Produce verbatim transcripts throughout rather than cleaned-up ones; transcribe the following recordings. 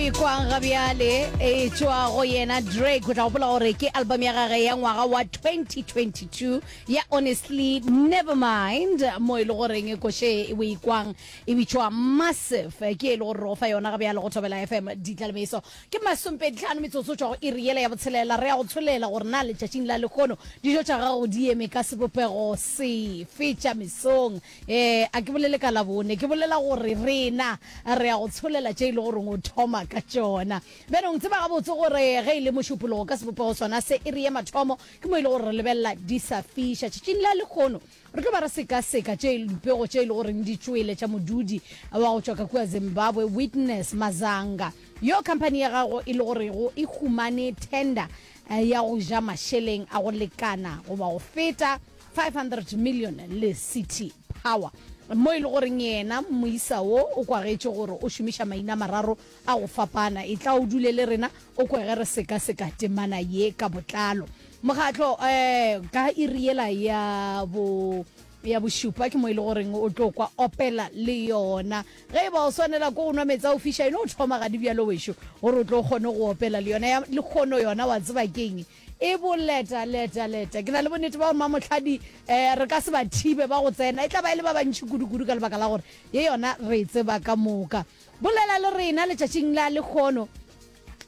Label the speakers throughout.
Speaker 1: e kwang ga bjale e tšwa go yena Drake. O tla gopola gore ke album ya gage ya ngwaga wa twenty twenty-two ya Honestly Nevermind, mo e le goreng koše o e kwang e bitšwa Massive, ke e le gore re go fa yona ga bjale go Thobela F M. Ditlalemeso ke masompedi tlhano metsotso tšwa go iri yela ya botshelela. Re ya go tsholela gore na letšatšing la lehono dijo tša gago di eme ka sebopego sefe tša mesong. Eh, a ke bolele ka Labone, ke bolela gore rena re ya go tsholela tše e le goreng o thoma ka tšona. Bjanong tseba gabotse gore ge e le mošupologo ka sebopego sona se iri ya mathomo ke mo e le gore re lebelela di sa fiša. Tšatšing la lehono re tlo ba re sekaseka tše dipego tše e le goreng di tšwele tša modudi wa go tšwa ka kua Zimbabwe, Witness Mazanga, yo khamphani ya gago e le gorego e humane tender ya go ja mašeleng a go lekana goba go feta five hundred million le City Power, mo e le goreng yena moisa wo o kwagetše gore o šomiša maina a mararo a go fapana. E tla o dule le rena o kwe ge re sekaseka temana ye ka botlalo. Mokgatlo um ka iri yela ya bo ya bošupa ke mo e le goreng o tlo kwa opela le yona. Ge e ba o swanela ko go nwa meetse a go fiša, eno o thoma gadi bjalo wešo gore o tlo kgone go opela le yona. Ya lekgono yona wa tseba keng, e boleta leta leta. Ke na le bonnete ba gore mamohladi um re ka se ba thibe ba go tsena, e tla ba e le ba bantši kudu-kudu ka lebaka la gore ye yona re e tseba ka moka. Bolela le rena letšatšing la lekgono.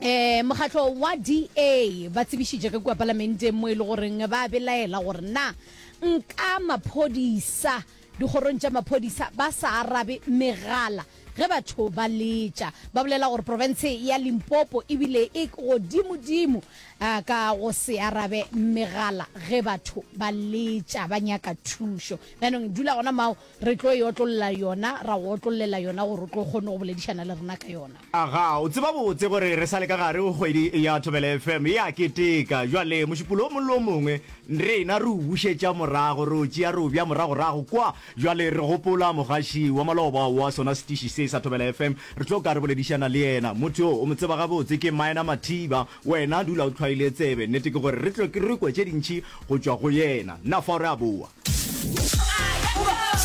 Speaker 1: Um mokgatlo wa D A ba tsebišitše ka kua palamenteng mo e le goreng ba belaela gore na nka maphodisa dikgorong tša maphodisa ba sa arabe megala ge batho ba letša. Ba bolela gore profense ya Limpopo ebile e godimodimo ka go se arabe megala ge batho ba letša ba nyaka thušo. Bjanong dula gona mao, re tlo e otlolla yona, ra go otlollela yona gore o tlo kgone go boledišana le rena ka yona.
Speaker 2: Aga, o tseba botse gore re sa le ka gare go kgwedi ya Thobela F M e a keteka. Bjale mošupolo o mongwe le o mongwe rena re o bušetša morago, re o tšea re o bea moragorago kwa. Bjale re gopola mogaši wa maloba wa sona setiši se sa Thobela F M, re tlo ka re boledišana le yena. Motho yo o mo tseba gabotse ke Minor Mathiba. Wena dula o hlwaile tsebe, nnete ke gore re tlo re kwe tše dintši go tšwa go yena. Nna fao re a boa.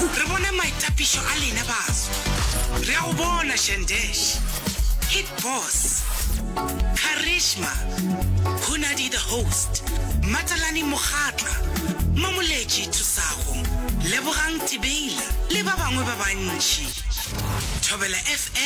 Speaker 3: Re bone maitapišo a lena baso. Re a go bona Shandesh, Hit Boss, Charisma, Hunadi the Host, Matalane Mokgatla, Mamoletši Thusago, Lebogang Tibeila le ba bangwe ba bantši. Thobela F M.